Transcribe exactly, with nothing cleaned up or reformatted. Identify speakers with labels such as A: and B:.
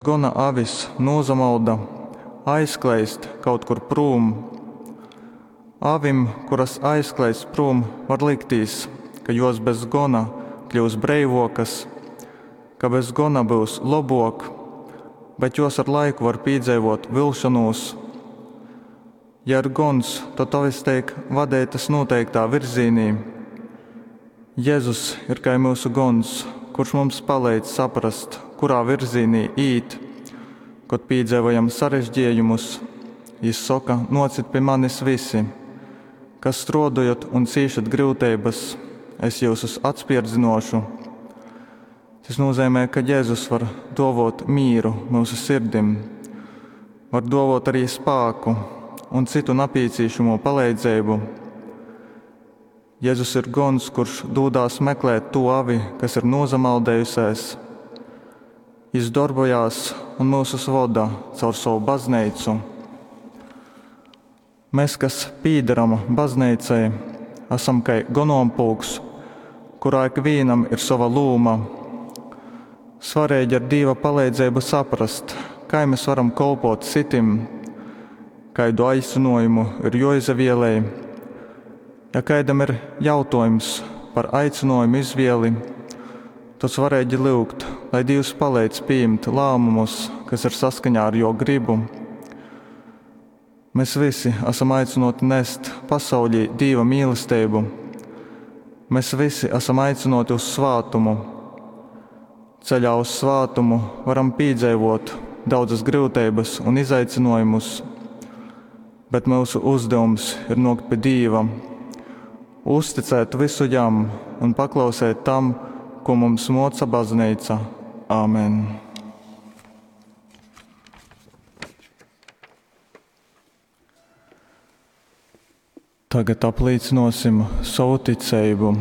A: Gona avis nūsamolda, aizkleist kaut kur prūm. Avim, kuras aizkleist prūm, var liktīs, ka juos bez gona kļyus breivuokys, ka bez gona byus lobuok, bet juos ar laiku var pīdzeivuot vilšonūs. Ja ir gons, tod avis teik vadeitys nūteiktā virzīnī. Jezus ir kai myusu gons, kurš mums paleidz saprast, kurā virzīnī īt, kod pīdzeivojam sarežgiejumus. Jis soka: Nuocit pi manis vysi, kas struodojat un cīšat gryuteibys, es jyusus atspierdzinuošu. Tys nūzeimē, ka Jezus var duovuot mīru myusu sirdim, var duovuot arī spāku un cytu napīcīšamū paleidzeibu. Jezus ir gons, kurš dūdās meklēt tū avi, kas ir nūsamaldējusēs. Jis dorbojās un myusus voda caur sovu bazneicu. Mes, kas pīdaram bazneicai, asam kai gonompulks, kurā ikvīnam ir sova lūma. Svareigi ar Dīva paleidzeibu saprast, kai mes varam kolpot cytim, kaidu aicynuojumu ir juoizavielej. Ja kaidam ir jautuojums par aicynuojumu izvieli, tod svareigi lyugt, lai Dīvs paleidz pījimt lāmumus, kas ir saskaņā ar Juo grybu. Mes vysi asam aicynuoti nest pasaulī Dīva mīlesteibu. Mes vysi asam aicynuoti uz svātumu. Ceļā uz svātumu varam pīdzeivuot daudzas gryuteibys un izaicynuojumus, bet myusu uzdevums ir nuokt pi Dīva, uzticēt vysu Jam un paklauseit tam, ko mums muoca bazneica. Āmen. Tagad aplīcynuosim sovu ticeibu.